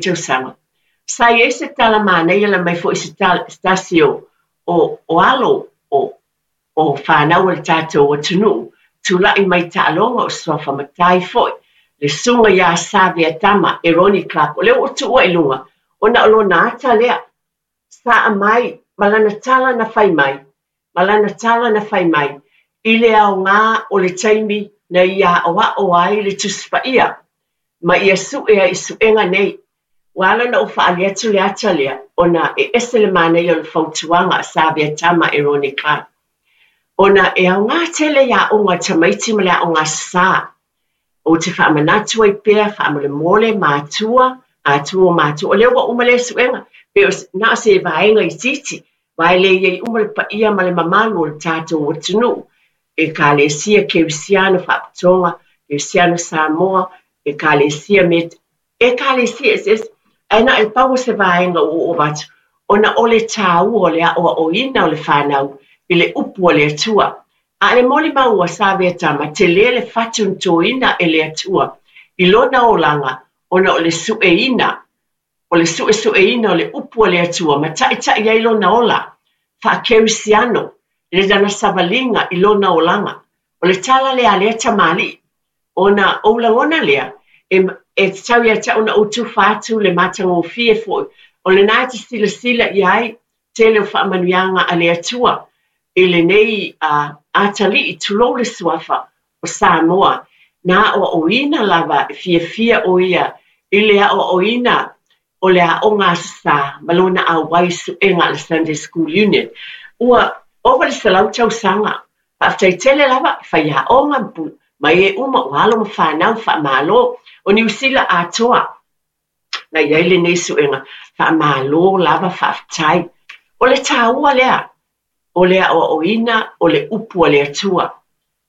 tausaga. Sa i ai se tala manaia na aumai foi e se tasi o o alo o o fanau a le tatou atunuu, tulai mai taaloga o suafa matai foi, le susuga ia Saveatama Eroni Clark, o lea ua ou tuua i luga, ona o lona ata lea, sa aumai ma lana tala na fai mai, ma lana tala na fai mai, i le aoga o le taimi na ia aoao ai le Tusi Paia, ma ia sue ai i suega nei. Ua ala ona ou faaali atu le ata lea, ona e ese le manaia o le fautuaga a Saveatama Eroni Clark, ona e aoga tele i aoga a tamaiti ma le aoga sā. Ou te faamanatu ai pea, faamolemole, matua, atua o matua, o lea ua uma lea suega, pe o na o se vaega itiiti, aua e le i ai uma le paia ma le mamalu o le tatou atunuu, Ekalesia Kerisiano Faapotoga, Kerisiano Samoa, Ekalesia Met, Ekalesia eseese, ae na o le pau o se vaega ua ou avatu, ona o le tāua o le aoaoina o le fanau i le upu a le Atua. A o le molimau a Saveatama, tele le fatu na toina e le Atua i lona olaga ona o le sueina, o le suesueina o le upu a le Atua ma taitai ai lona ola faa-Kerisiano i lana savaliga i lona olaga. O le tala lea a lea tamalii, Ona ou lagona lea, e, e tatau ia te au ona ou tufa atu le matagofie foi o lena e te silasila i ai tele o faamanuiaga a le Atua i lenei uh, atalii, tulou le suafa o Samoa, na aoaoina lava e fiafia ʻo ia i le aoaoina o le aoga Aso Sa ma lona auai suega a le Sunday School Union. Ua ova le 100 tausaga. Faafetai tele lava i faiaoga ma e uma o alo ma fanau faamalo o Niu Sila atoa na i ai lenei suega. Faamalo lava faafetai. O le tāua lea o le aoaoina o le upu a le Atua.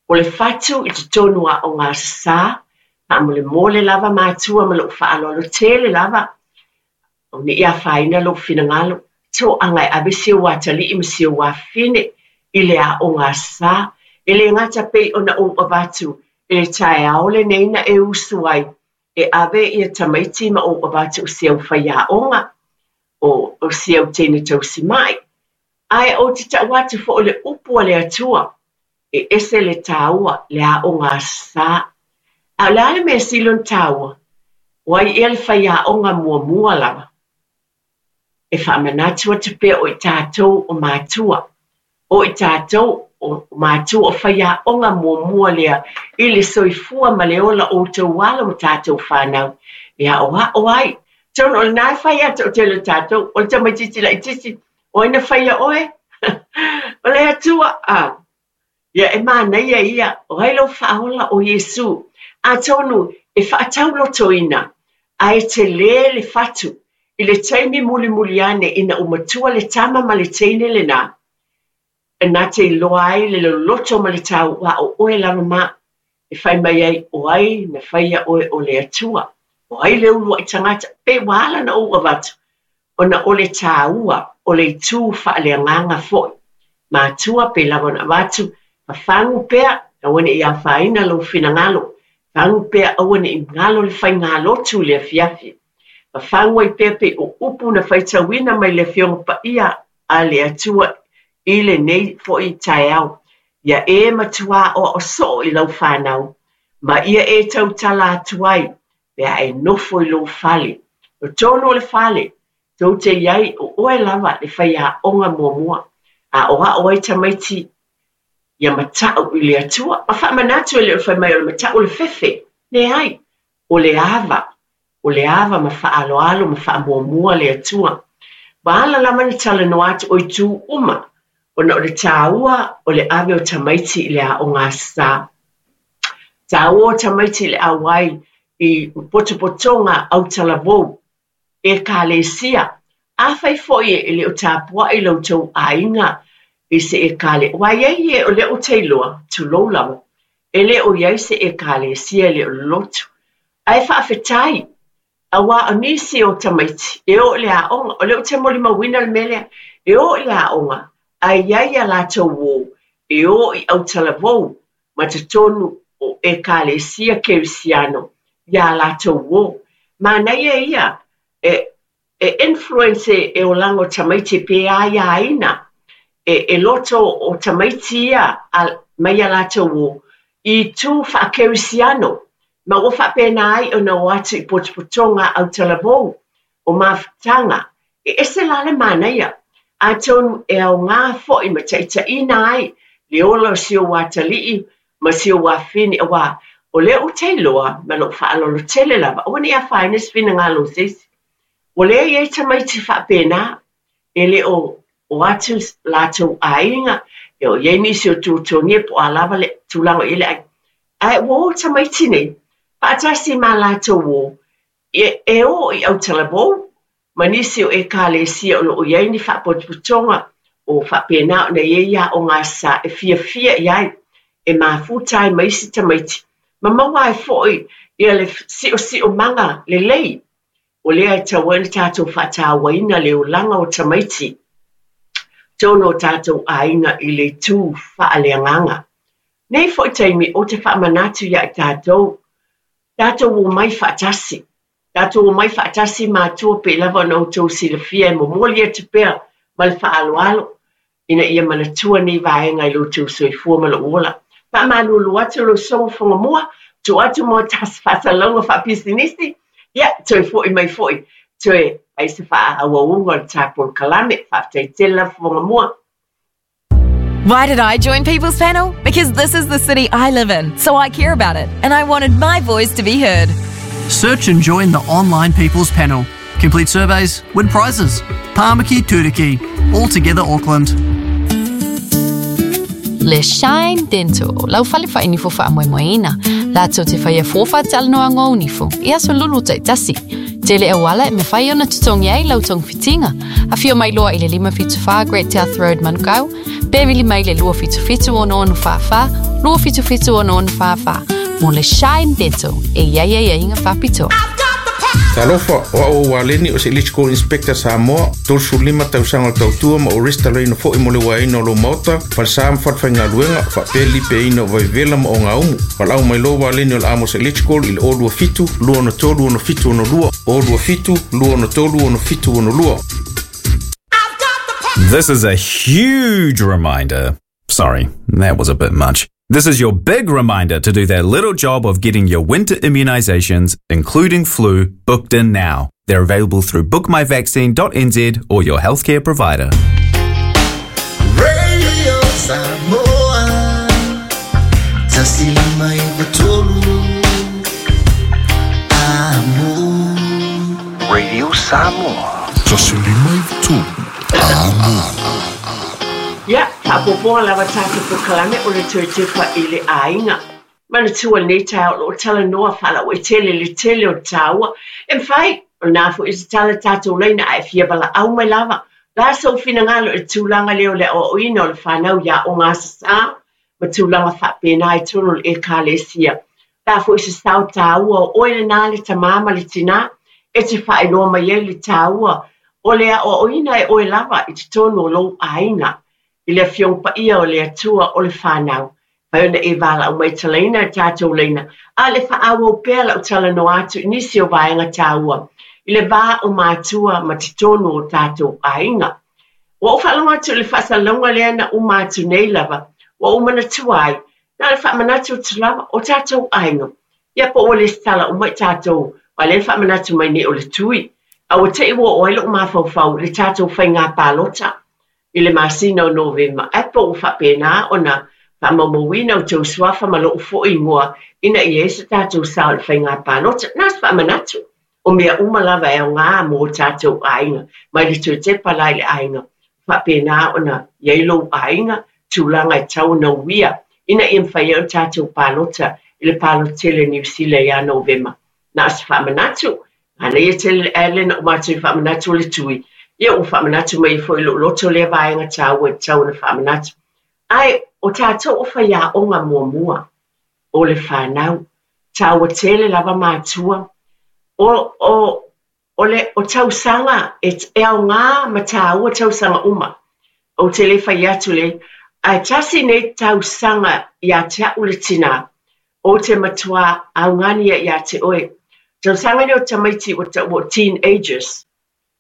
O le fatu i totonu o aoga Aso Sa, faamolemole lava matua ma lou faaaloalo tele lava, au ne i afaina lou finagalo, toaga e ave si ou atalii ma si ou afafine i le aoga Aso Sa, e le gata pei ona ou avatu i le taeao lenei na e usu ai e ave ia tamaiti ma ou avatu o si au faiaoga, o si au teine tausimai, ae ou te tau atu foi o le upu a le Atua, e ese le tāua, le aoga Aso Sa. A o le a le mea sili ona tāua? O ai ea le faiaoga muamua lava? E faamanatu atu pea o i tātou o mātua. O i tātou o mātua o faiaoga muamua lea i le soifua ma le ola o outou alo ma tātou whānau e aoao ai. Tonu o lena e whai atu o tele o tātou, o le tamaitiiti laitiiti, o ai na whaia oe? O le Atua, a. Ia e manaia ia, o ai lou faaola o Iesū. Atonu e faataulotoina, ae tele le fatu i le taimi mulimuli ane ina ua matua le tama ma le teine lena, na te iloa ai le loloto ma le tau a o oe lava ma e fai mai ai, o ai na faia oe o le Atua, o ai le uluai tagata, pe ua ala ona ou avatu, ona o le tāua o le itū faaleagaga foi. Matua pe lava ona avatu, fafagu pea, aua ne i afaina lou finagalo, fagu pea aua ne i galo le faigalotu i le afiafi. Fafagu ai pea pei o upu na faitauina mai le Afioga Paia a le Atua i lenei foi taeao, ia e matuā aoao soo i lau fanau, ma ia e tautala atu ai pe a e nofo i lou fale. O totonu o le fale, tou te i ai o oe lava le faiaoga muamua, aoao ai tamaiti ia matau i le Atua. Ma faamanatu e le o le fai mai o le matau o le fefe, leai, o le ava, o le ava ma faaaloalo ma faamuamua le Atua. Ua ala lava ona talanoa atu o itu uma, ona o le tāua o le ave o tamaiti i le aoga Aso Sa. Tāua o tamaiti i le auai i potopotoga autalavou, Ekalesia. Afai foi e le o tapuai lo outou aiga i se ekale, aua e i ai e o lea ou te iloa, tulou lava, e le o i ai se Ekalesia e le o lolotu. Ae faafetai, aua o nisi o tamaiti e o i le aoga, o lea ou te molimauina le mea lea, e o i le aoga, ae i ai a latou uō e o i autalavou ma totonu o Ekalesia Kerisiano i a latou uō. Manaia ia E e influence e olaga o tamaiti pe aiaina e e loto o tamaiti ia a mai a latou o i itu faakerisiano ma ua faapena ai ona o atu i potopotoga autalavou o mafutaga e ese la le manaia atonu e aoga foi ma taitaiina ai le ola o si ou atalii ma si ou afafine auā o lea ou te iloa ma lou faaaloalo tele lava aua ne i afaina se finagalo o se isi. Ua leai ai tamaiti faapena e le o o atu latou aiga, e o i ai nisi o tuatuagia po o a lava le tulaga o i ai le aiga. Ae ua o tamaiti nei faatasi ma latou o e o i autalavou ma nisi o Ekalesia o lo o i ai ni faapotopotoga o faapena ona i ai aoga sa e fiafia i ai, e mafuta ai ma isi tamaiti, ma maua ai foi ia le siosiomaga lelei. O lea e tatau ai ona tatou faatauaina le olaga o tamaiti i totonu o tatou aiga i le itu faaleagaga. Nei foi taimi ou te faamanatu ia i tatou, tatou omai faatasi. Tatou omai faatasi matua pei lava ona outou silafia e momoli atu pea ma le faaaloalo ina ia manatua nei vaega i lo outou soifua ma lou ola. Faamalulu atu lau Sosoga Fogamua, tuu atu mo tasi faasalalauga faapisinisi, ia toe foi mai foi toe ai se faaauauga o le ta polokalame. Faafetai tele lava Fogamua. Why did I join People's Panel? Because this is the city I live in, so I care about it, and I wanted my voice to be heard. Search and join the online People's Panel. Complete surveys, win prizes. Tāmaki Turuki, all together Auckland. Le Shine Dental, lau fale faainifo faamoemoeina, latou te faia fua faatalanoaga o nifo i aso lulu taitasi. Tele auala e mafai ona totogi ai lau togafitiga. Afio mai loa i le 574 Great South Road Manukau, pe vili mai le 277 6644, 277 6644 mo le Shine Dental e i ai aiaiga faapitoa. Talofa, o au o Waleni o se Electrical Inspector Samoa, 35 tausaga o le tautua ma ou resitalaina foi mo le uaeina o lou maota, falesa ma falefaigaluega, faapea le lipeaina o vaivevela ma ogaumu. Valaau mai loa Waleni o le Amos Electrical i le 027 263 6762, 027 263 6762. This is a huge reminder. Sorry, that was a bit much. This is your big reminder to do that little job of getting your winter immunizations, including flu, booked in now. They're available through bookmyvaccine.nz or your healthcare provider. Radio Samoa Tasi lima iwa tolu Amo Radio Samoa. Tasi lima iwa tolu Amo. Ia, faaopoopoga lava tatou polokalame o le toe tepa i le aiga. Manatua lenei taeao o lo o talanoa faalauaitele le tele o le taua. E mafai, o lena foi e tatala tatou laina ae fia valaau mai lava. O le a sou finagalo i le tulaga lea o le aoaoina o le fanau i aoga Aso Sa ma tulaga faapena i totonu o le Ekalesia. O le a foi se sao taua o oe lena le tamā ma le tinā e te faailoa mai ai le taua o le aoaoina e oe lava i totonu o lou aiga i le Afioga Paia o le Atua o le fanau. Mafai ona e valaau mai talaina i le tatou laina, a o le faaauau pea lau talanoa atu i nisi o vaega taua i le va o matua ma totonu o tatou aiga. Ua ou faalogo atu i le faasalalauga lea na uma atu nei lava, ua ou manatua ai, na o le faamanatu atu lava o tatou aiga, ia po ua lesitala uma i tatou, aua o lea e faamanatu mai nei o le tui, a ua te i ua oo ai lou mafaufau i le tatou faiga palota i le masina o Novema, ae po ua faapena ona faamaumauina outou suafa ma lou foi igoa ina ia i ai so tatou sao i le faiga palota. Na o se faamanatu, o mea uma lava e aoga mo o tatou aiga, mai le toe tepa la i le aiga, faapena ona i ai lou aiga, tulaga e tatau ona uia ina ia mafai ai ona tatou palota i le palota tele a Niu Sila ia Novema. Na o se faamanatu, manaia tele le ae lea na uma atu i faamanatu o le tui, ia ua faamanatu mai ai foi i lou loto lea vaega taua e tatau ona faamanatu. Ae o tatou o faiaoga muamua o le fanau, taua tele lava matua, o, o, o le o tausaga e, e aoga ma taua tausaga uma. Ou te le fai atu le, ae tasi nei tausaga ia te au le tinā, ou te matuā augani ia te oe. Tausaga nei o tamaiti ua taua o teenagers.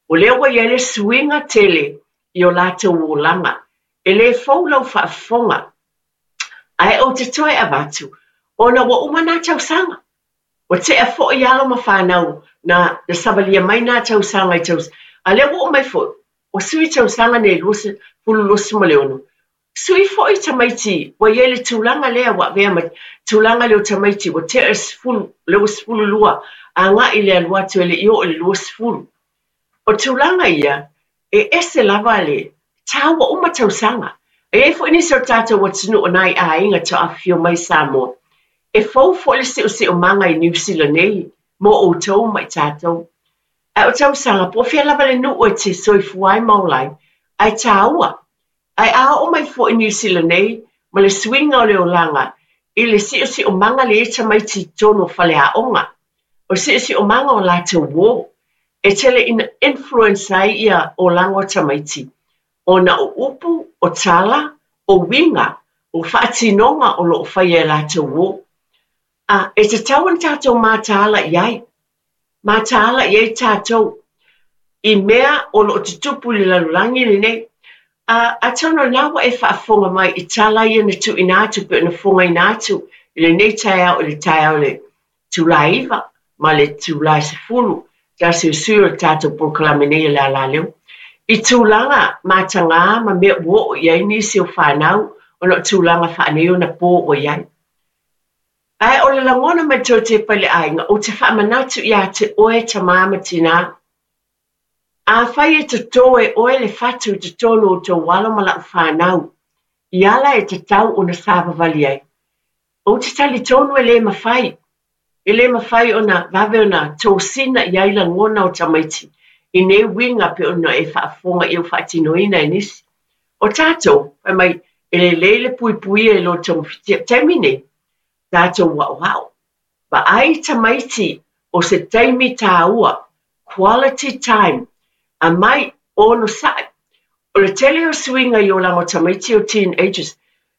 O lea ua i ai le suiga tele i o latou olaga. E le fou lau faafofoga, ae ou te toe avatu, ona ua uma nā tausaga. Ua tea foi alo ma fanau na na savalia mai nā tausaga i tausaga, a lea ua oo mai foi, ua sui tausaga nei 2026. Sui foi tamaiti ua i ai le tulaga lea ua avea ma tulaga lea o tamaiti ua tea le 10, lea ua 12 agai i le alu atu e le i oo i le 20. O tulaga ia, e ese lava le tāua uma tausaga. E i ai foi nisi o tatou atunuu o nai aiga tau afifio mai Samoa, e fou foi le siosiomaga i Niu Sila nei mo outou ma i tatou. Ae o tausaga, po o fea lava le nuu e te soifua ai ma ola ai, ae tāua. Ae a oo mai foi i Niu Sila nei ma le suiga o le olaga i le siosiomaga lea i tamaiti i totonu o faleaoga, o le siosiomaga o latou uō, e tele ina influence ai ia olaga o tamaiti ona o upu, o tala, o uiga, o faatinoga o lo o faia e latou uō. A, e tatau ona tatou mataala i ai. Mataala i ai tatou i mea o lo o tutupu i le lalolagi lenei. A, atonu o lena ua e faafofoga mai i tala ia na tuuina atu pei ona fofogaina atu i lenei taeao i le taeao i le itula e 9 ma le itula e 10, taasiusui o le tatou polokalame nei o le alaleo, i tulaga matagā ma mea ua oo i ai nisi o fanau ona o tulaga faaneionapo ua i ai. Ae o le lagona mai toe tepa i le aiga, ou te faamanatu ia te oe tamā ma tinā, Afai e totō e oe le fatu i totonu o tou alo ma lau fanau, i ala e tatau ona savavali ai, ou te talitonu e le mafai, e le mafai ona vave ona tosina i ai lagona o tamaiti i nei uiga pei ona e faafofoga i ou faatinoina e nisi. O tatou, fai mai, e lelei le puipuia i lo togafitia. Taimi nei, tatou aoao. Vaai tamaiti o se taimi tāua, quality time, aumai, onosai. O le tele o suiga i olaga o tamaiti o teenagers,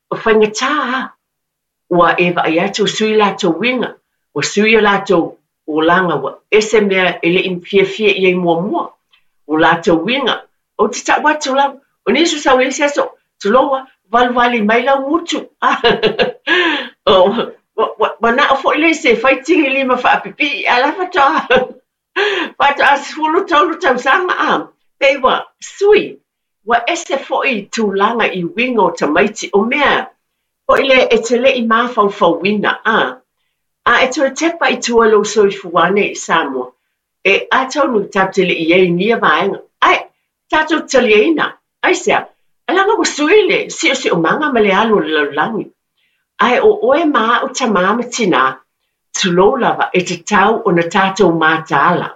o faigata a. Ua e vaai atu ua sui latou uiga, ua sui o latou olaga, ua ese mea e le i fiafia i ai muamua, o latou uiga. Ou te tau atu lava, o nisi o sau i le isi aso, tulou a, valuvali mai lau gutu. Manao foi le isi e fai tililima faapipii, ae la faatoa faatoa 13 tausaga a, pei ua sui, ua ese foi tulaga i uiga o tamaiti, o mea foi lea e te le i mafaufauina, a. A e toe tepa i tua i lou soifua nei i Samoa, e atonu tatou te le i ai i nia vaega, ae tatou te taliaina. Aisea? Leaga ua sui le siosiomaga ma le alu o le lalolagi. Ae o oe ma a'u tamā ma tinā, tulou lava, e tatau ona tatou mataala.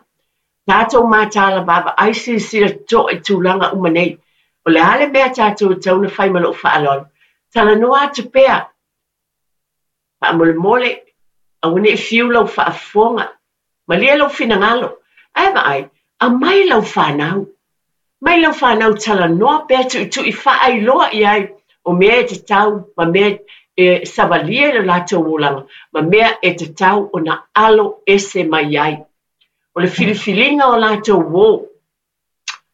Tatou mataala vaavaai silasila totoa i tulaga uma nei. O le a le mea tatou e tatau ona fai ma lou faaaloalo? Talanoa atu pea. Faamolemole, aua ne i fiu lau faafofoga. Malie lou finagalo. Ae vaai, aumai lau fanau. Mai lau fanau talanoa pea tuitui faailoa i ai o mea e tatau ma mea e savalia i lo latou olaga ma mea e tatau ona alo ese mai ai. O le filifiliga o latou uō.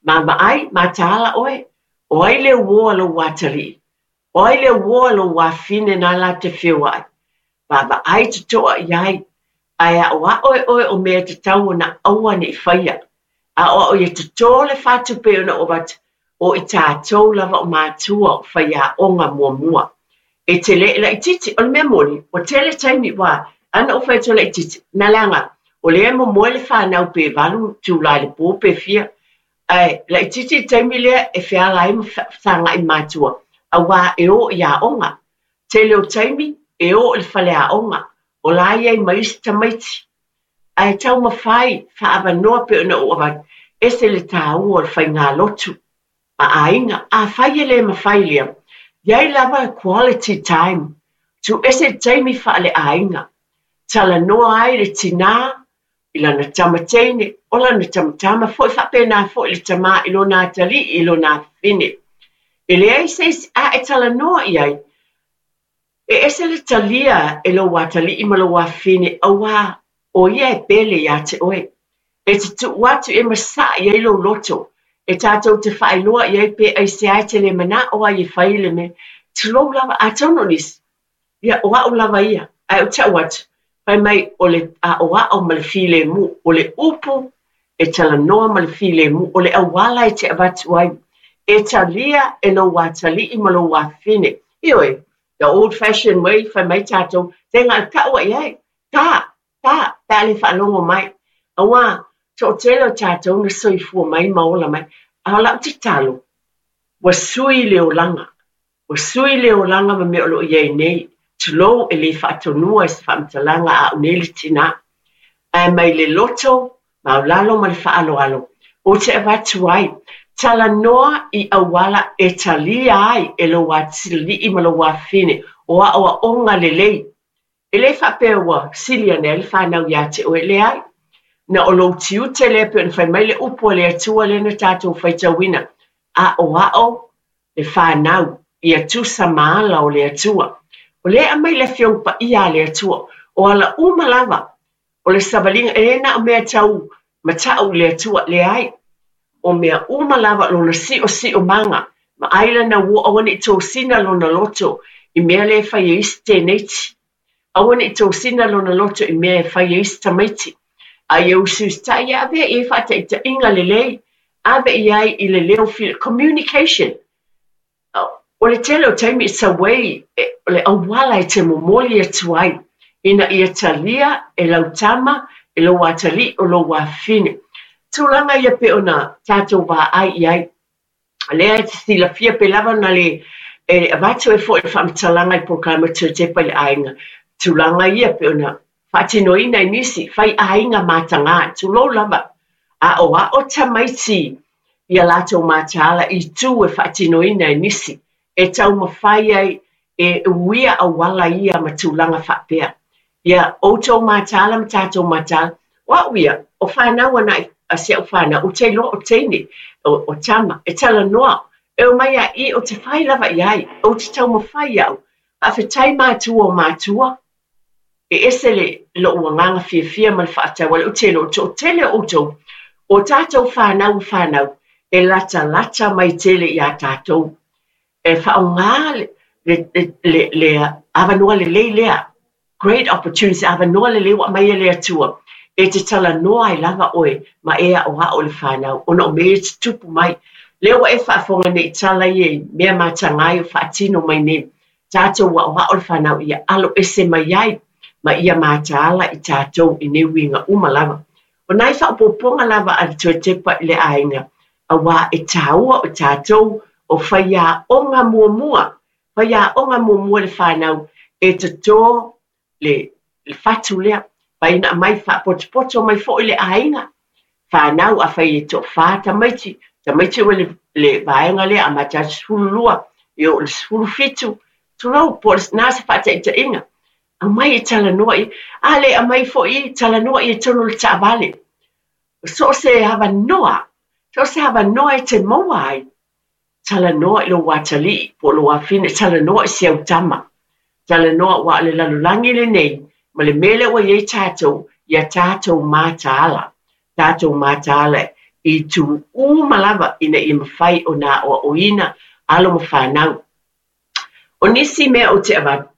Vaavaai, mataala oe, o ai le uō a lou atalii? O ai le uō a lou afine na la te feoai? Vaavaai totoa i ai, ae aʻoaʻo e oe o mea e tatau ona aua ne i faia. Aʻoaʻo ia totō le fatu pei ona ou avatu, o i tatou lava o matua o faiaoga muamua. E tele e laitiiti, o le mea moni, ua tele taimi ua ana ou fai atu e laitiiti, na leaga, o lea e momoe le fanau pe valu itula i le pō pe fia, Ae laitiiti le taimi lea e feala ai ma fesagai matua, auā e o i aoga. Tele o taimi e o i le faleaoga, o la i ai ma isi tamaiti. Ae taumafai faaavanoa pei ona ou avatu, ese le tāua o le faigalotu a aiga. Afai e le mafai lea, i ai lava quality time, tuu ese le taimi faale-aiga, talanoa ai le tinā i lana tama teine, o lana tamatama foi, faapena foi le tamā i lona atalii, i lona afafine. E leai se isi a e talanoa i ai, e ese le talia e lou atalii ma lou afafine, auā O ia e pele iā te oe. E te tuu atu e masaʻi ai lou loto, e tatou te faailoa i ai pe aisea e te le manao ai e fai le mea. Tulou lava, atonu o nisi, ia, o au lava ia, ae ou te a'u atu, fai mai o le aʻoaʻo ma le filemu, o le upu e talanoa ma le filemu, o le auala e te avatu ai, e talia e lou atalii ma lou afafine. Ioe, the old fashioned way, fai mai tatou, tega e tau ai ai, tā, tā, pe a le faalogo mai. Auā, toatele o tatou na soifua mai ma ola mai, a o lau tatalo, ua sui le olaga, ua sui le olaga ma mea o lo o i ai nei, tulou e le faatonua i se faamatalaga a au nei le tinā. Ae mai le loto maualalo ma le faaaloalo, ou te avatu ai, talanoa i auala e talia ai e lou atalii ma lou afafine o aoaoga lelei. E le faapea ua sili ane ai le fanau iā te oe, leai. Na o lou tiute lea pei ona fai mai le upu a le Atua lea na tatou faitauina, aoao le fanau ia tusa ma ala o le Atua. O lea e aumai le Afioga Paia a le Atua, o ala uma lava o le savaliga, e le na o mea tau matau i le Atua, leai. O mea uma lava lona siosiomaga, ma ai lana uo aua ne i tosina lona loto i mea lea e fai e isi teineiti. Aua ne i tosina lona loto i mea e fai e isi tamaiti. A ia usiusitai ia avea i ai faataitaiga lelei, ave i ai i le leo fili, communication. O le tele o taimi it's a way, o le auala e te momoli atu ai ina ia talia e lau tama, e lou atalii, o lou afafine. Tulaga ia pei ona tatou vaai i ai. Lea e te silafia pe lava ona le e avatu ai foi le faamatalaga i polokalame Toetepa i le aiga, tulaga ia pei ona faatinoina e nisi, fai aiga mataga, tulou lava, aoao tamaiti i a latou mataala i itu e faatinoina e nisi, e taumafai ai e uia auala ia ma tulaga faapea. Ia outou mataala ma tatou mataala, o au ia, o fanau ana a si au fanau, ou te iloa o teine, o tama, e talanoa, e omai a i, ou te fai lava i ai, ou te taumafai au, faafetai matua o matua, E ese le lou agaga fiafia ma le faatauala ou te iloa o toatele o outou, o tatou fanau ma fanau e latalata mai tele iā tatou. E faaaoga le, le, le, le avanoa lelei lea, great opportunity, avanoa lelei ua aumai e le Atua e te talanoa ai lava oe ma e aʻoaʻo i le fanau ona o mea ia e tutupu mai. Lea ua e faafofoga nei i tala ia i mea mataga ai o faatino mai nei. Tatou aʻoaʻo le fanau ia alo ese mai ai ma ia mataala i tatou i nei uiga uma lava. O nai faaopoopoga lava a le Toetepa i le aiga, auā e tāua o tatou o faiaoga muamua, faiaoga muamua le fanau e totō le le fatu lea, fai ina aumai faapotopoto mai foi le aiga, fanau, afai e toafa tamaiti, tamaiti ua le, le vaega lea amata atu 12, e oo i le 17, tulou, po o na se faataitaiga, aumai e talanoa i, a le aumai foi talanoa i totonu o le taavale. So o se avanoa, so o se avanoa e te maua ai, Talanoa i lou atalii po o lou afine, talanoa i si au tama. Talanoa aua o le lalolagi lenei ma le mea lea ua i ai tatou, ia tatou mataala, tatou mataala i itu uma lava ina ia mafai ona aoaoina alo ma fanau. O nisi mea ou te avatu,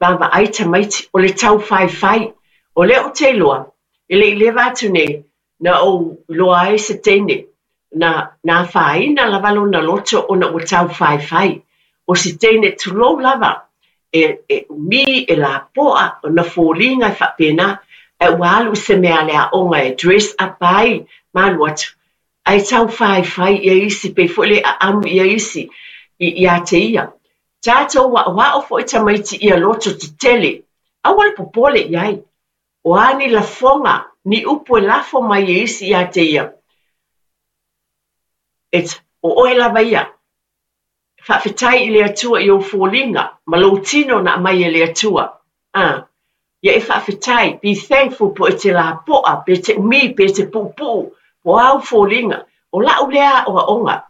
vaavaai tamaiti, o le taufaifai. O lea ou te iloa, e le i leva atu nei, Na ou iloa ai se teine, na na afaina lava lona loto ona ua taufaifai. O se teine tulou lava, e e umi, e lapoa, ona foliga e faapena, ae ua alu i se mea a le aoga e dress up ai ma alu atu, ae taufaifai ia isi, pei foi le aamu ia isi i ia te ia. Tatou aoao foi tamaiti ia loto tetele, aua le popole i ai. O a ni lafoga, ni upu e lafo mai e isi iā te ia, it's, o oe lava ia. Faafetai i le Atua i ou foliga ma lou tino na aumai e le Atua. A, ia e faafetai, be thankful po e te lapoa, pe te umi, pe te puupuu, po o a ou foliga. O la'u lea aoaoga.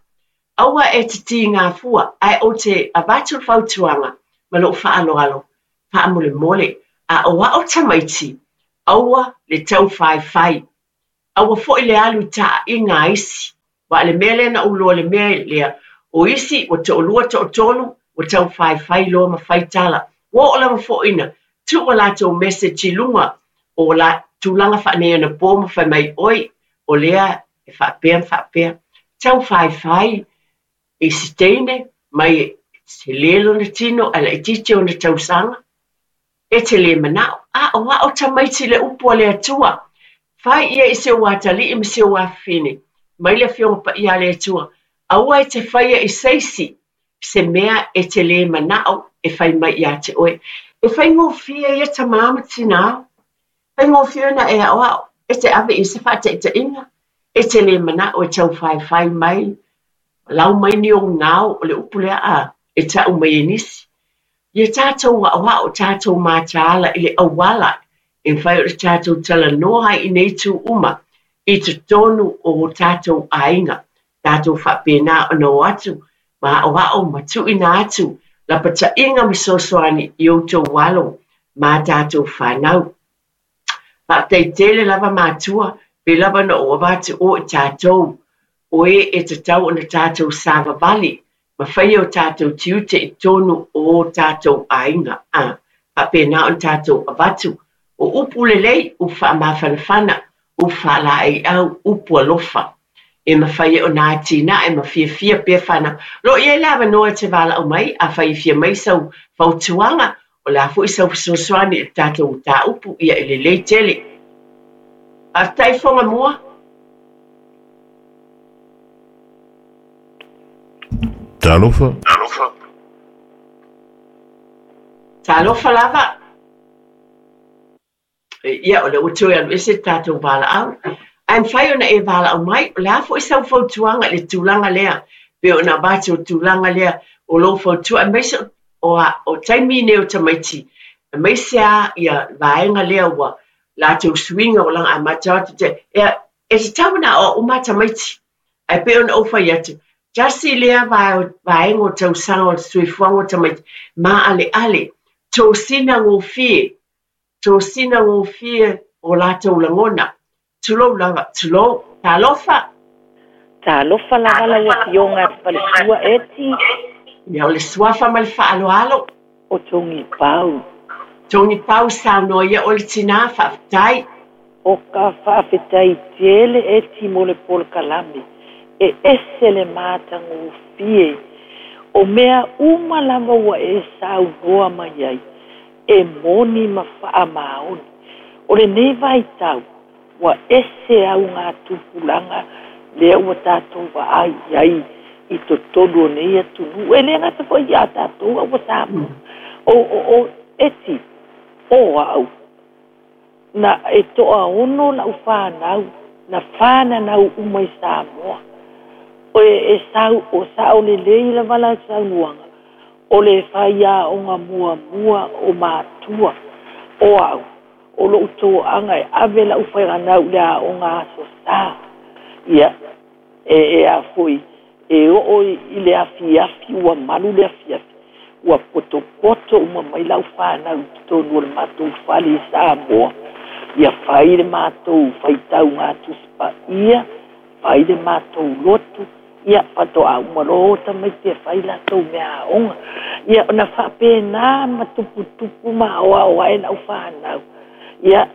Aua e te tīgā fua, ae ou te avatu le fautuaga ma lou faaaloalo, faamolemole, aʻoaʻo tamaiti, Aua le taufaefai. Aua foi le alu i taaiga a isi. Aua o le mea lea na ou iloa i le mea lea, o isi ua toalua toatolu ua taufaefai loa ma fai tala. Ua oo lava foi ina tuu a latou message i luga o la tulaga faaneionapo ma fai mai, oi, o lea e faapea ma faapea. Taufaefai i se teine mai e tele lona tino ae laitiiti ona tausaga. E te le manao, aoao tamaiti i le upu a le Atua. Fai ia i si ou atalii ma si ou afafine, mai le Afioga Paia a le Atua, aua e te faia i se isi se mea e te le manao e fai mai ia te oe. E faigofie ia tamā ma tinā, faigofie ona e aoao, e te ave i se faataitaiga, e te le manao e taufaefai mai, lau mai ni ou gao, o le upu lea a, e tau mai e nisi. Ia tatou aoao, tatou mataala i le auala e mafai ona tatou talanoa ai i nei itu uma i totonu o o tatou aiga. Tatou faapena ona o atu ma aoao ma tuuina atu lapataiga ma fesoasoani i outou alo ma a tatou fanau. Faafetai tele lava matua, pei lava ona ou avatu o i tatou, o e e tatau ona tatou savavali ma faia o tatou tiute i totonu o o tatou aiga, a faapena ona tatou avatu o upu lelei, upu faamafanafana, upu faalaeiau, upu alofa e mafai ai ona atinae ma fiafia pea fanau. O lo o i ai le avanoa e te valaau mai, afai e fia mai sau fautuaga, o le a foi sau fesoasoani i le tatou mataupu, ia e lelei tele. Faafetai Foga Mua. Talofa. Talofa lava. Ia, o lea ua toe alu ese le tatou valaau. Ae mafai ona e valaau mai, o le a foi sau fautuaga i le tulaga lea, pei ona avatu o le tulaga lea o lou fautua, aemaise o, o taimi nei o tamaiti, aemaise lava ia vaega lea ua latou suiga ua laga amata atu te, e, e tatau ona aoao uma tamaiti. Ae pei ona ou fai atu, tasi lea vaega o tausaga o le soifuaga o tamaiti, maaleale, tosina gofie, tosina gofie o latou lagona. Tulou lava, tulou. Talofa! Talofa lava lau Afioga i le Faletua Eti. Ia, o le suafa ma le faaaloalo. O Togipau. Togipau, saunoa ia oe le tinā, faafetai. O ka faafetai tele Eti mo le polokalame. E ese le matagofie. O mea uma lava ua e saunoa mai ai, e moni ma faamaoni. O lenei vaitau, ua ese augatupulaga lea ua tatou vaai i ai i totonu o nei atunuu. E le gata foi ia tatou a ua Samoa. O, o, o, Eti, o au, na e toaono lau fanau, na fananau uma i Samoa. O e, e sau, o sao lelei lava la saunoaga, o le faiaoga muamua o matua, o au, o lou toaga e ave lau fanau i le aoga Aso Sa. Ia, e, e a foi, e oo i le afiafi, ua malu le afiafi, ua potopoto uma mai lau fanau i totonu o le matou fale i Samoa. Ia fai le matou faitauga Tusi Paia, fai le matou lotu, ia faatoa uma loa o tamaiti e fai latou meaaoga. Ia ona faapena ma tuputupu ma aoao ae lau fanau. Ia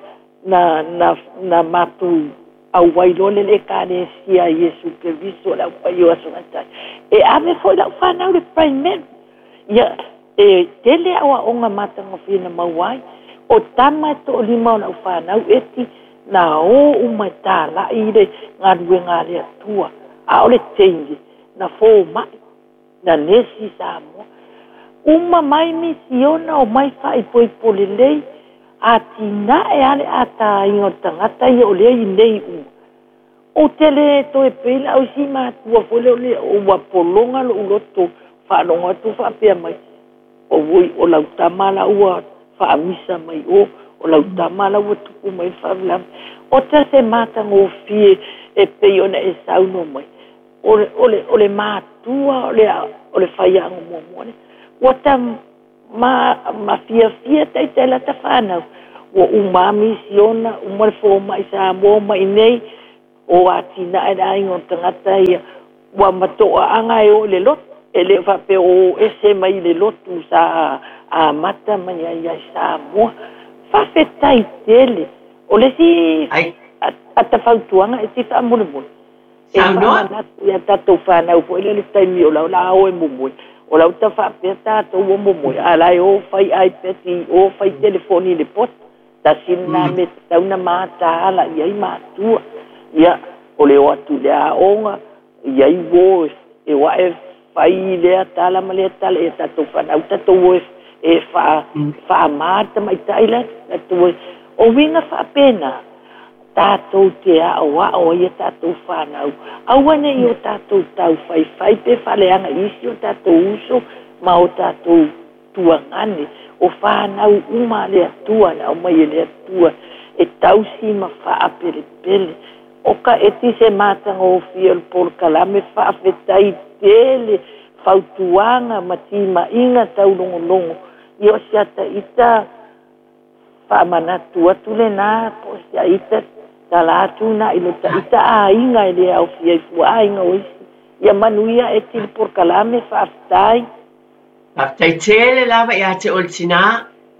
na, na, na matou auai loa le Ekalesia a Iesu Keriso o le Aupai o Aso Gatae. E ave foi lau fanau i le primary. Ia, e tele aoaoga matagofie na maua ai. O tama e toalima o lau fanau Eti, na o uma e talai i le galuega a le Atua, a o le teine na fomai, na nesi i Samoa. Uma mai misiona, omai faaipoipo lelei, atinae lava le ataina o le tagata ia o lea i nei uma. Ou te le toe pei la au i si matua foi lea o le ua pologa lou loto faalogo atu faapea mai, Auoi, o lau tama la ua faamisa mai o, o lau tama la ua tupu mai le faalavelave. O ta se matagofie e pei ona e saunoa mai, o le, o le, o le matua o le, o le faiaoga muamua lea. Ua ta ma, ma fiafia taitai la ta fanau, Ua uma lava misiona, uma le fomai Samoa ma i inei, o atinae le aiga o tagata ia, ua matoaaga e oo i le lotu, e le o faapea o o ese mai le lotu sa amata mai ai ia Samoa. Faafetai tele. O le isi ata fautuaga e te faamolemole, e faamanatu ia tatou fanau foi lea le taimi o lau la o e momoe, o lau ta faapea tatou ua momoe, a la e o fai iPad i o fai telefoni i le poto. Tasi lena mea tatau ona mataala i ai matua. Ia, o le o atu i le aoga, i ai uo e o ae fai lea tala ma lea tala ia tatou fanau tatou o e faama le tamaitai la tatou o. O uiga faapena, tatou te aoao ai a tatou fanau, aua ne i o tatou taufaifai pe faaleaga i isi o tatou uso ma o tatou tuagane, o fanau uma a le Atua na aumai e le Atua e tausi ma faapelepele. O ka eti se matagofie o le polokalame faafetai tele fautuaga ma timaiga taulogologo ia o si ata ita faamanatu atu lena po o si a ita tala atu na i lo ta ita aiga e le aofia i fua aiga o isi. Ia manuia eti le polokalame faafetai. Faafetai tele lava ia te oe le tinā,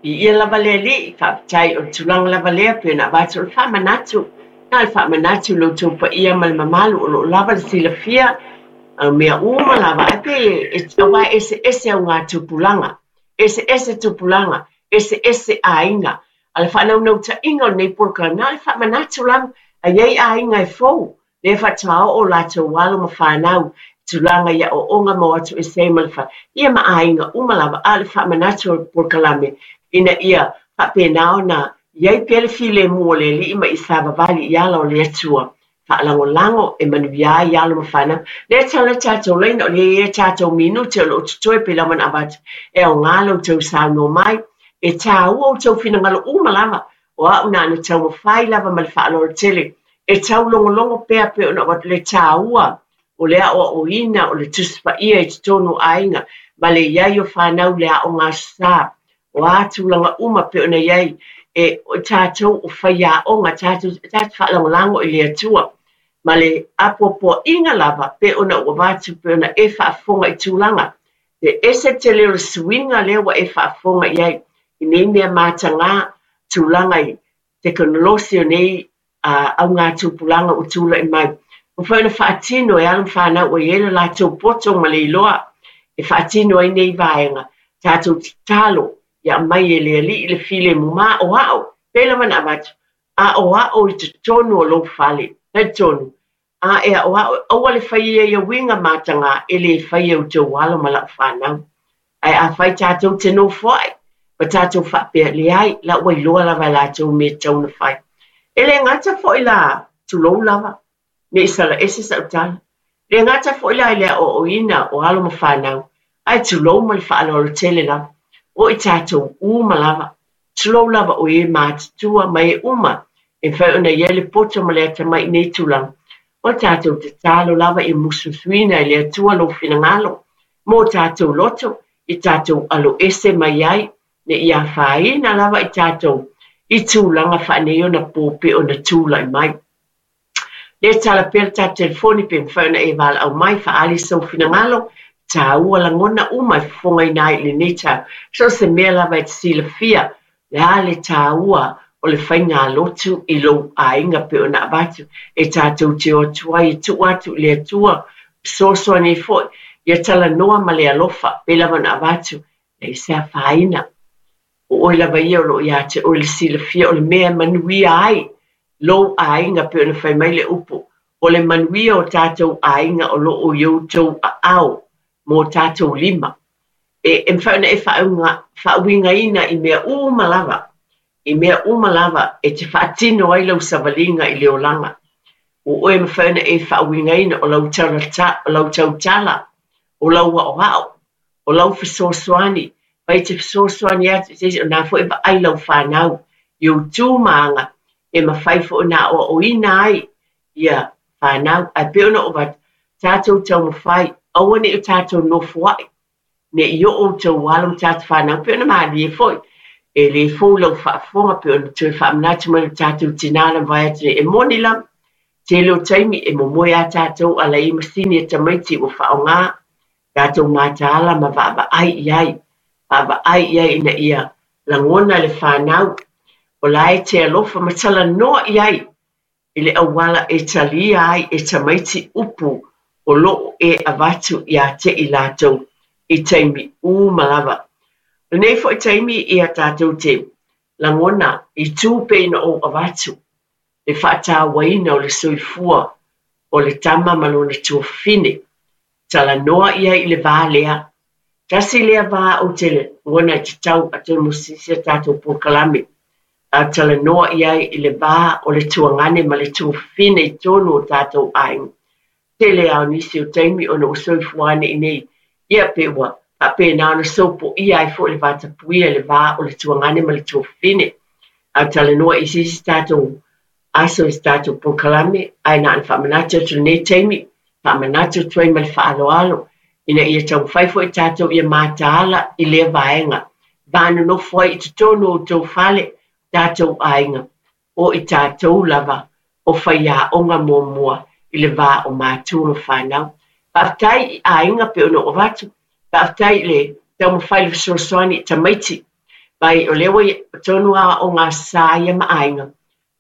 viia lava le Alii, faafetai o le tulaga lava lea pei ona avatu o le faamanatu, na o le faamanatu i lo outou paia ma le mamalu o lo o lava le silafia o mea uma lava, ae pei e, aua e eseese augatupulaga, eseese tupulaga, eseese aiga. A o le faanaunautaiga o lenei polokalame, na o le faamanatu lava, a i ai aiga e fou, lea faatoa oo latou alo ma fanau i tulaga i aoaoga ma o atu ese ai ma le fale, ia ma aiga uma lava, a o le faamanatu o le polokalame ina ia faapena ona i ai pea le filemu o le Alii ma ia savavali i ala o le Atua, faalagolago e manuia ai alo ma fanau. Lea tala le tatou laina, o lea e i ai a tatou minute o lo o totoe pei lava ona avatu e aoga lo outou saunoa mai. E taua outou finagalo uma lava, o au na ona taumafai lava ma le faaaloalo tele e taulogologo pea pei ona avatu le taua o le aoaoina o le Tusi Paia i totonu o aiga ma le i ai o fanau i le aoga Aso Sa. O a tulaga uma pei ona i ai e o tatou o faiaoga, tatou tatou faalagolago i le Atua ma le apoapoaiga lava pei ona ou avatu pei ona e faafofoga i tulaga e ese tele o le suiga lea ua e faafofoga i ai i nei mea mataga tulaga i tekonolosi o nei augatupulaga ua tulai mai. Ua mafai ona faatino e alo ma fanau ua i ai le latou poto ma le iloa e faatino ai nei vaega. Tatou tatalo ia aumai e le Alii le filemu ma aoao, pei lava ona avatu, aoao i totonu o lou fale. Talitonu, a e aoao, aua le faia ia uiga mataga e le faia e outou alo ma lau fanau. Ae afai tatou te nofoai ma tatou faapea, leai, la ua iloa lava e latou mea e tatau ona fai. E le gata foi la, tulou lava, ne i sala ese sau tala, le gata foi la i le aoaoina o alo ma fanau, ae tulou ma le faaaloalo tele lava, o i tatou uma lava, tulou lava o e matutua ma e uma e mafai ona i ai le poto ma le atamai i nei tulaga. O le tatou tatalo lava ia musumusuina e le Atua lou finagalo mo tatou loto i tatou aloese mai ai, ne i afaina lava i tatou i tulaga faaneionapo pei ona tulai mai. Lea tala pea le tatou telefoni pe mafai ona e valaau mai, faaali sou finagalo, taua lagona uma e fofogaina ai i lenei taeao. So o se mea lava e te silafia, le a le taua o le faigalotu i lou aiga pei ona avatu e tatou te o atu ai e tuu atu i le Atua, fesoasoani ai foi, ia talanoa ma le alofa, pei lava ona avatu, leai se afaina. O oe lava ia o lo o ia te oe le silafia o le mea e manuia ai lou aiga pei ona fai mai le upu, o le manuia o tatou aiga o lo o i outou aao ma o tatou lima. E, e mafai ona e faauigaina i mea uma lava, i mea uma lava e te faatino ai lau savaliga i le olaga. Ua oe mafai ona e faauigaina o lau o lau tautala, o lau aoao, o lau fesoasoani, mai te fesoasoani atu i se isi, o na foi e vaai lau fanau i ou tu ma aga e mafai foi ona aoaoina ai ia fanau. Ae pei ona ou avatu, tatou taumafai, aua ne i o tatou nofoai, ne i oo outou alo ma tatou fanau, pei ona malie foi E lē fou lau faafofoga pei ona toe faamanatu mai lo tatou tinā na mavae atu nei. E moni lava, tele o taimi e momoe lava tatou a la i ai masini a tamaiti ua faaaoga tatou mataala ma vaavaai i ai, vaavaai i ai ina ia lagona le fanau o la e te alofa ma talanoa i ai i le auala e talia ai e tamaiti upu o lo o e avatu iā te i latou i taimi uma lava. O lenei foi taimi ia tatou te lagona i tū pei ona ou avatu le faatauaina o le soifua o le tama ma lona tuafafine. Talanoa i ai i le va lea. Tasi lea va ou te lagona e tatau atonu o se isi a tatou polokalame a talanoa i ai i le va o le tuagane ma le tuafafine i totonu o tatou aiga. Tele lava o nisi o taimi ona ua soifua ane i inei, ia pe ua faapena ona sopoia ai foi le vatapuia i le va o le tuagane ma le tuafafine. A talanoa i se isi tatou aso i se tatou polokalame, ae na ona faamanatu atu i lenei taimi, faamanatu atu ai ma le faaaloalo, ina ia taumafai foi tatou ia mataala i lea vaega, va nonofo ai i totonu o outou fale, tatou aiga, o i tatou lava o faiaoga muamua i le va o matua ma fanau. Faafetai i aiga pei ona ou avatu, faafetai i le taumafai i le fesoasoani i tamaiti, mai o lea ua tonu aoaoga sa ia ma aiga,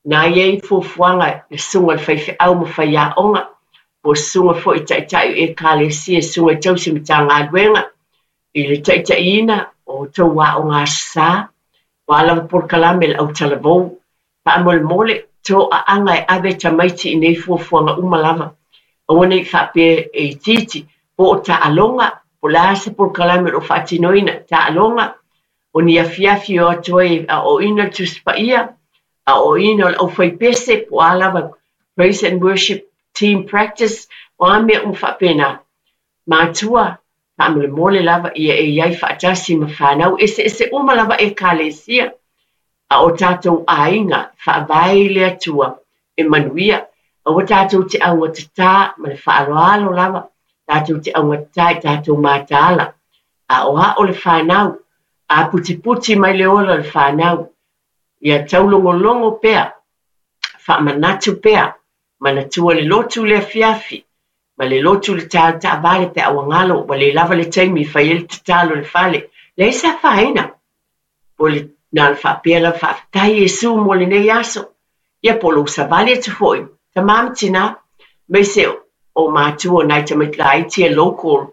na i ai fuafuaga le susuga i le faifeau ma faiaoga, po o susuga foi i taitai o Ekalesia, susuga i tausi Matagaluega, i le taitaiina o outou aoga Aso Sa, o a lava polokalame le autalavou. Faamolemole, toaaga e ave tamaiti i nei fuafuaga uma lava. Aua ne i faapea e itiiti, po o taaloga, po o le a se polokalame o lo o faatinoina, taaloga, o ni afiafi e o atu ai e aoaoina le Tusi Paia, aoaoina o le aufaipese, po o a lava praise and worship team practice, o a mea uma faapena. Matua, faamolemole lava ia e i ai faatasi ma fanau eseese uma lava Ekalesia a o tatou aiga faavae i le Atua e manuia. Aua tatou te augatatā ma le faaaloalo lava, tatou te augatatā i tatou mataala. Aoao le fanau, aputiputi mai le ola o le fanau, ia taulogologo pea, faamanatu pea, manatua le lotu i le afiafi, ma le lotu i le taeao taavale pe a ua galo ua le lava le taimi e fai ai le tatalo i le fale. Leai se afaina. Po le na ona faapea lava faafetai Iesu mo lenei aso. Ia po o lou savali atu foi, tama ma tina, aemaise o matua o nai tamaiti laiti e local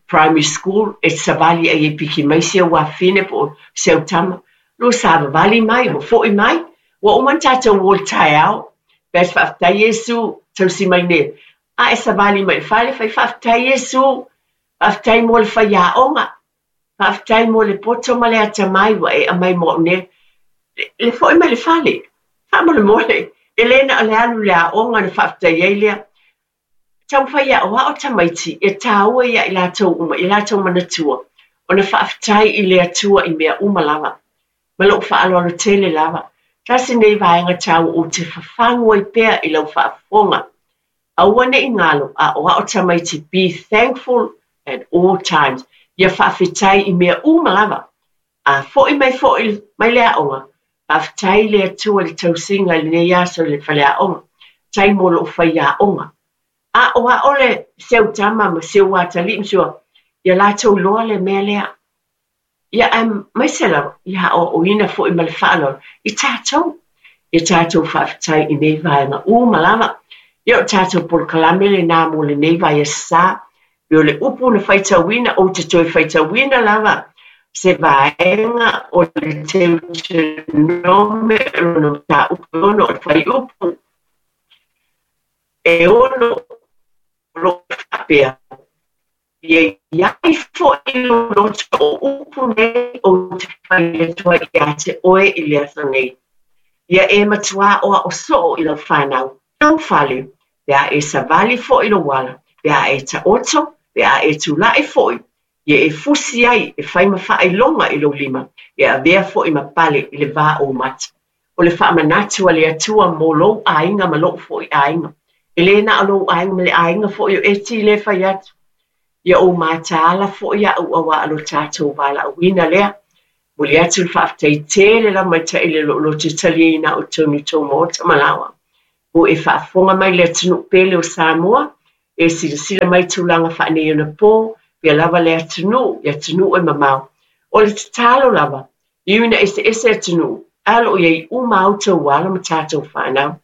primary school e savali ai e piki mai si au afafine po o si au tama. Lua savavali mai, ua foi mai, ua uma ona tatou o i le taeao. Pe faafetai Iesu, tausi mai nei. A e savali mai i le fale, fai faafetai Iesu, faafetai mo le faiaoga, faafetai mo le poto ma le atamai ua e aumai mo au nei. Le foi mai le fale, faamolemole, e le na o le alu i le aoga ona faafetai ai lea. Taumafai e aoao tamaiti e tāua ia i latou uma, i latou manatua, ona faafetai i le Atua i mea uma lava. Ma lou faaaloalo tele lava. Tasi nei vaega tāua ou te fafagu ai pea i lau faafofoga. Aua ne i galo, aoao tamaiti be thankful at all times. Ia faafetai i mea uma lava. A foi mai foi mai le aoga, faafetai i le Atua i le tausiga i lenei aso i le faleaoga, tai mo lou faiaoga. Aoao le si au tama ma si ou atalii ma si ou, ia latou iloa le mea lea. Ia aemaise lava ia aoaoina foi ma le faaaloalo i tatou. Ia tatou faafetai i nei vaega uma lava. Ia o tatou polokalame lenā mo lenei vaiaso sa. Pei o le upu na faitauina, ou te toe faitauina lava se vaega o le Teutenome lona mataupu e ono o le fuaiupu e ono o lo o faapea, Ia i ai foi lou loto o upu nei ou te fai atu ai ia te oe i le aso nei. Ia e matuā aoao soo i lau fanau, lou fale, pe a e savali foi lou ala, pe a e taoto, pe a e tulaʻi foi, ia e fusi ai e fai ma faailoga i lou lima, e avea foi ma pale i le va o ou mata. O le faamanatu a le Atua mo lou aiga ma loʻu foi aiga. E le na o lou aiga ma le aiga foi o Eti lea e fai atu. Ia ou mataala foi aʻu auā lo tatou valaauina lea. Momoli atu le faafetai tele lava mai taʻi le lo'o loto taliaina a'u totonu i tou maota ma laoa. Ua e faafofoga mai i le atunu'u pele o Samoa, e silasila mai i tulaga faaneionapo, pea lava le atunuu i atunuu e mamao. O le tatalo lava, e ui ina eseese atunuu, ae o lo o i ai uma a outou alo ma tatou fanau.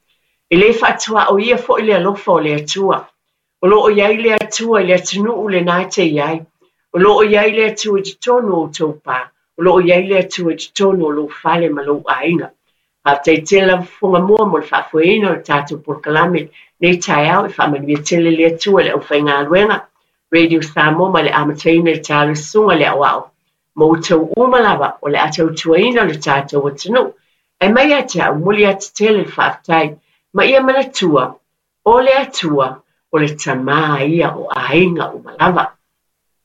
E lē faatuaoia foi le alofa o le Atua. O lo o i ai le Atua i le atunuu lenā e te i ai. O lo o i ai le Atua i totonu o outou pa. O lo o i ai le Atua i totonu o lou fale ma lou aiga. Faafetai tele lava fofoga mua mo le faafoeina o le tatou polokalame nei taeao. E faamanuia tele le Atua i le aufaigaluega Radio Samoa mai le amataina i le taeao le susuga i le aoao ma outou uma lava o le a tautuaina le tatou atunuu. Ae mai ia te a'u, momoli atu tele le faafetai ma ia manatua, o le Atua, o le Tamā ia o aiga uma lava.